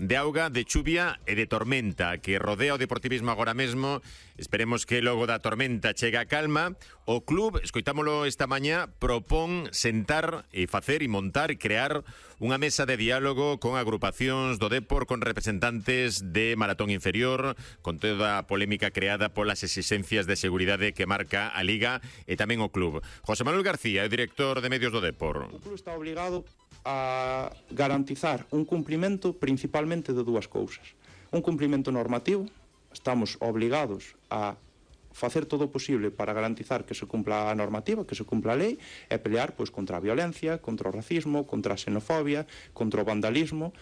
de auga, de chuvia e de tormenta que rodea o deportivismo agora mesmo. Esperemos que logo da tormenta chegue a calma. O club, escoitámolo esta mañá, propón sentar e facer e montar e crear unha mesa de diálogo con agrupacións do Depor, con representantes de Maratón Inferior, con toda a polémica creada polas exigencias de seguridade que marca a Liga e tamén o club. José Manuel García, o director de medios do Depor. O club está obligado a garantizar un cumprimento principalmente de dúas cousas. Un cumprimento normativo, estamos obligados a facer todo o posible para garantizar que se cumpla a normativa, que se cumpla a lei, e pelear pois contra a violencia, contra o racismo, contra a xenofobia, contra o vandalismo.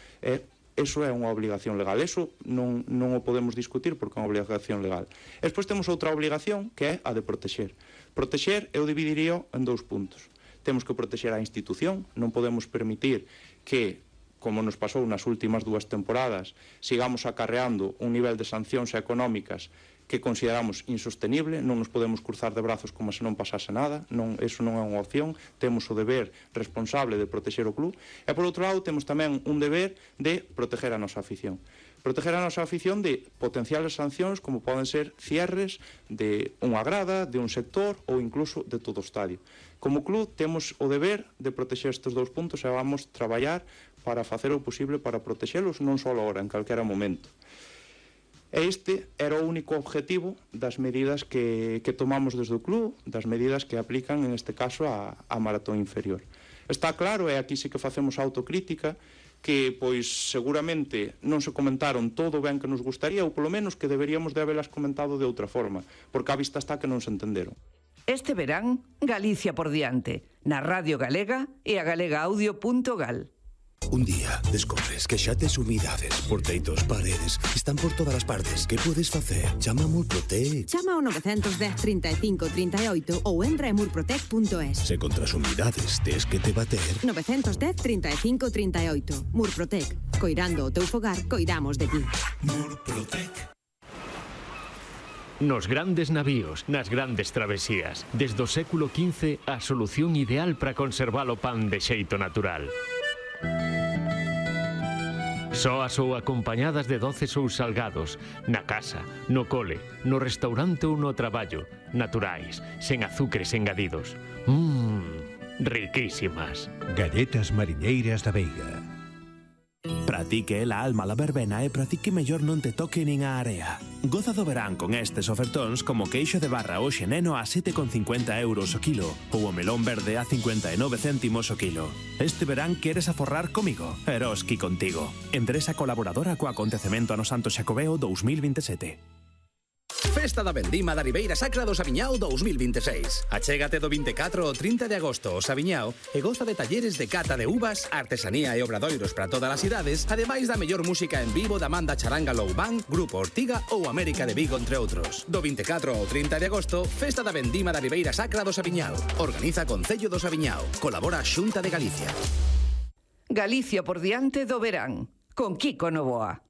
Eso é unha obligación legal. Eso non o podemos discutir porque é unha obligación legal. E despois temos outra obligación que é a de protexer. Protexer eu dividiría en dous puntos. Temos que protexer a institución, non podemos permitir que, como nos pasou nas últimas 2 temporadas, sigamos acarreando un nivel de sancións económicas que consideramos insostenible. Non nos podemos cruzar de brazos como se non pasase nada. Eso non é unha opción. Temos o deber responsable de protexer o club. E por outro lado temos tamén un deber de proteger a nosa afición. Proteger a nosa afición de potenciales sancións como poden ser cierres de unha grada, de un sector ou incluso de todo o estadio. Como club temos o deber de protexer estes dous puntos e vamos traballar para facer o posible para protexelos non só agora, en calquera momento. E este era o único objetivo das medidas que tomamos desde o club, das medidas que aplican, en este caso, a Maratón Inferior. Está claro, e aquí sí que facemos autocrítica, que, pois, seguramente non se comentaron todo o ben que nos gustaría, ou polo menos que deberíamos de habelas comentado de outra forma, porque a vista está que non se entenderon. Este verán, Galicia por diante, na Radio Galega e a galegaaudio.gal. Un día descobres que xa tes humidades por teitos, paredes, están por todas as partes. Que podes facer? Chama a Murprotec. Chama ao 910 35 38 ou entra en murprotec.es. Se contra as humidades tes que te bater. 910 35 38. Murprotec. Coirando o teu fogar, coidamos de ti. Murprotec. Nos grandes navíos, nas grandes travesías, desde o século XV, a solución ideal para conservar o pan de xeito natural. Soas ou acompañadas de doces ou salgados, na casa, no cole, no restaurante ou no traballo, naturais, sen azúcares engadidos. Riquísimas. Galletas mariñeiras da Veiga. Para ti que é a alma la verbena e para ti que mellor non te toque nin a area. Goza do verán con estes ofertóns como queixo de barra o xeneno a 7,50 euros o kilo ou o melón verde a 59 céntimos o kilo. Este verán queres aforrar comigo? Eroski contigo. Empresa colaboradora co acontecemento ano Santo Xacobeo 2027. Festa da Vendima da Ribeira Sacra do Sabiñao 2026. Achégate do 24 ao 30 de agosto ao Sabiñao e goza de talleres de cata de uvas, artesanía e obradoiros para todas as idades, ademais da mellor música en vivo da Manda Charanga Low Band, Grupo Ortiga ou América de Vigo, entre outros. Do 24 ao 30 de agosto, Festa da Vendima da Ribeira Sacra do Sabiñao. Organiza Concello do Sabiñao. Colabora a Xunta de Galicia. Galicia por diante do verán, con Kiko Novoa.